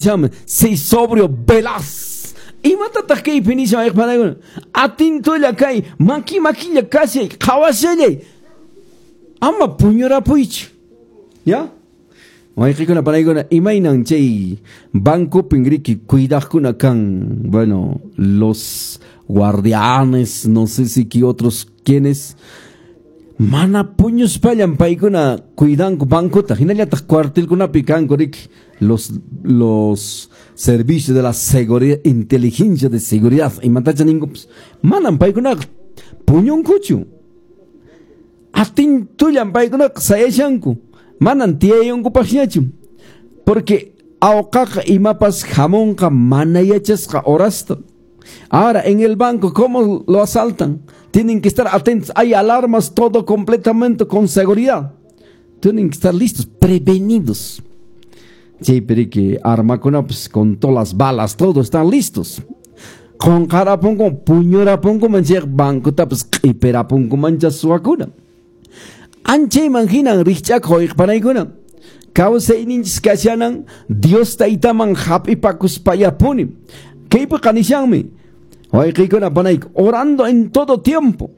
Chama, sé sobrio, velaz. Imatataq kaypi nishan wayqipanaykuna? Atintulla kay, maki makilla kashay, qhawashallay. Ama puñurapuychu. ¿Ya? Wayqikuna panaykuna, imaynan chay bancopin riki cuidaqkuna kan, bueno, los guardianes, no sé si qué otros quienes mana puñuspallan paykuna cuidanku bancota, hinallataq cuartelkunapi kanku riki los servicios de la seguridad, inteligencia de seguridad, imatacha ninkupas, manan paykunaqa puñunkuchu. Atintullan paykunaqa sayashanku, manan tiyayonkupaqñachu, porque awqaqa imapas hamunqa mana yachasqa horasta. Ahora, en el banco, ¿cómo lo asaltan? Tienen que estar atentos. Hay alarmas, todo completamente con seguridad. Tienen que estar listos, prevenidos. Sí, pero que armakunapas con todas las balas, todos están listos. Qonqarapunku, puñurapunku manchaq bancotapas q'ipirapunku mancha suwakuna. Anchayman hinan rikch'akuq wayqipanaykuna. Kawsayninchis kashanan Dios taytaman hap'ipakuspallapuni. Kaypiqa nishanmi wayqiykuna panayku, orando en todo tiempo.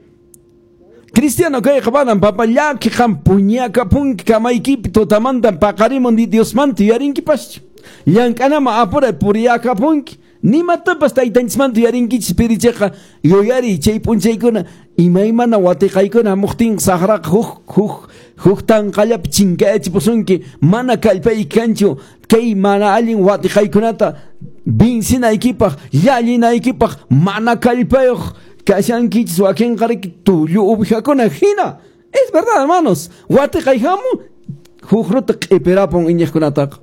Cristiano kayqa manan papa llaki qam puñakapunki kamaykipi tutamantan paqarimun di Diosmanta yuyarinkipaschu. Llank'anaman apuray puriyakapunki. Nimatapas taytanchismanta yuyarinkichis pirichayqa yuyariy chay p'unchaykuna imaymana watiqaykuna hamuqtin saqraqa huk huk huk tanqallapi chinkayachipusunki mana kallpayki kanchu kay mana allin watiqaykunata vincinaykipaq llallinaykipaq mana kallpayuq kashankichis wakinqa riki tullu uwijakuna hina. Es verdad, hermanos, watiqay hamu huk ruta q'ipirapun iñiqkunataqa.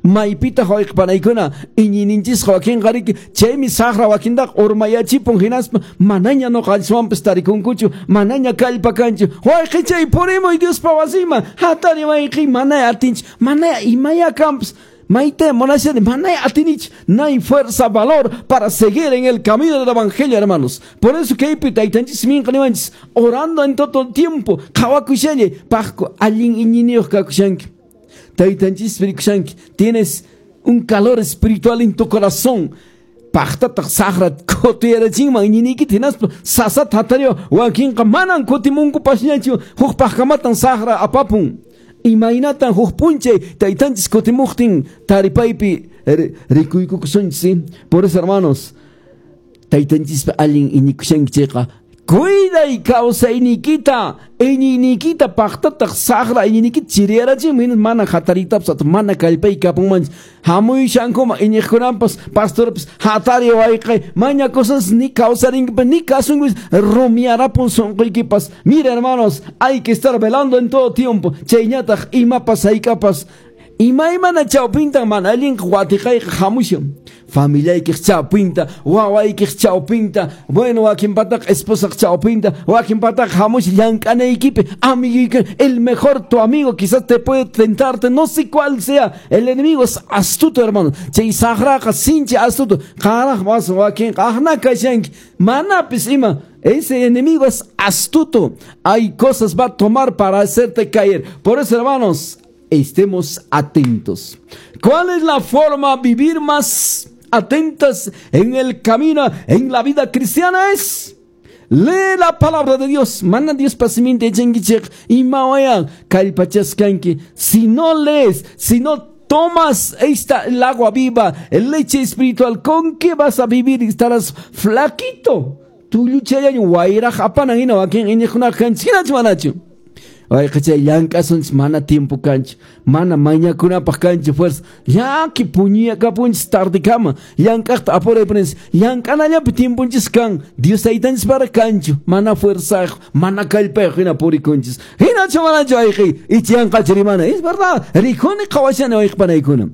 Maypitaq wayqipanaykuna iñiyninchisqa wakinqa riki chaymi saqra wakintaqa urmayachipun hinaspa manaña ñuqanchiswanpas tarikunkuchu, manaña kallpa kanchu. Wayqichay purimuy Diospa wasinman, hatari wayqi mana atinchik, mana imaya kanpas. Maite monashani, mana atinich, no hay fuerza, valor para seguir en el camino del evangelio, hermanos. Por eso kaypi taytanchis minqa niwanchis, orando en todo tiempo, qhawakushallay, paqku allin iñiniyuq kakushanki. Taytanchis rikushanki, tienes un calor espiritual en tu corazón. Paqtataq saqra kutiyarachinman iñiniykita hinaspa sasata hatariwa wakinqa manan kutimunkupasñachu, huk paqkamatan saqra apapun. Imaynatan huk p'unchay taytanchis kutimuqtin taripaypi rikuykukusunchis. Por eso, hermanos, taytanchispa allin iñikushanki chayqa cuiday kawsayniykita, iñiyniykita paqtataq saqra iñiyniykita chiriyarachinman, mana hatariytapas mana kallpay kapunmanchis. Hamuyashankuman iñiqkunampas pastorpas hatari wayqay maña cosas ni kawsarinkipas ni kasunkipas rumiyarapun sunquykipas. Mira, hermanos, hay que estar velando en todo tiempo. Chayñataq imapas haykapas imaymana chawpintan mana allinqa watiqayqa hamushan. Familiaykiq chawpinta, wawaykiq chawpinta, bueno, wakinpataqa esposaq chawpinta, wakinpataqa hamush llank'anaykipi, amiguiyki, el mejor tu amigo quizás te puede tentarte, no sé cuál sea, el enemigo es astuto, hermano. Chay saqraqa sinchi astuto, qaraq mas wakinqa aqna kashanki, manapis ima. Ese enemigo es astuto, hay cosas va a tomar para hacerte caer. Por eso, hermanos, estemos atentos. ¿Cuál es la forma de vivir más atentas en el camino, en la vida cristiana? Es lee la palabra de Dios. Mana Dios pasiminta yachankichik imawaya kallpachaskanki. Si no lees, si no tomas esta, el agua viva, el leche espiritual, ¿con qué vas a vivir? Estarás flaquito. Tulluchallañu wayraq apanan hina wakin iñiqkunaqa kanchis hinachu manachu. Wayqichay llank'asunchis mana tiempo kanchu, mana mañakunapaq kanchu fuerza. Llaki puñuyakapunchis tardekama, llank'aqta apuraypunchis, llank'anallapi tiemponchis kan, Dios taytanchis para kanchu, mana fuerzayuq, mana kallpayuq hina purikunchis. Hinachu manachu wayqi, icha yanqachu rimana. Es verdad, rikuni qhawashani wayqipanaykuna.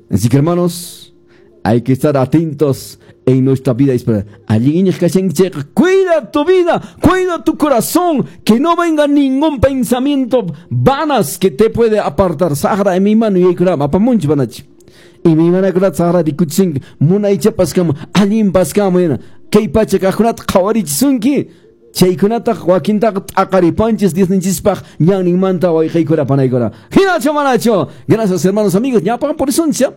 Así que, hermanos, hay que estar atentos en nuestra vida espiritual. Allin iñiq kashanki chayqa, cuida tu vida, cuida tu corazón, que no venga ningún pensamiento vanas que te puede apartar. Saqra imaymana yuyaykunata apamunchis panachi. Imaymanakunata saqra rikuchinki, munaychapas kama, allinpas kama hina. Kay pacha kaqkunata qhawarichisunki. Chaykunataq wakintaqa t'aqaripanchis Diosninchispaq ñanninmanta, wayqiykuna, panaykuna. Hinachu, manachu? Gracias, hermanos, amigos. Ñapan purisunchis.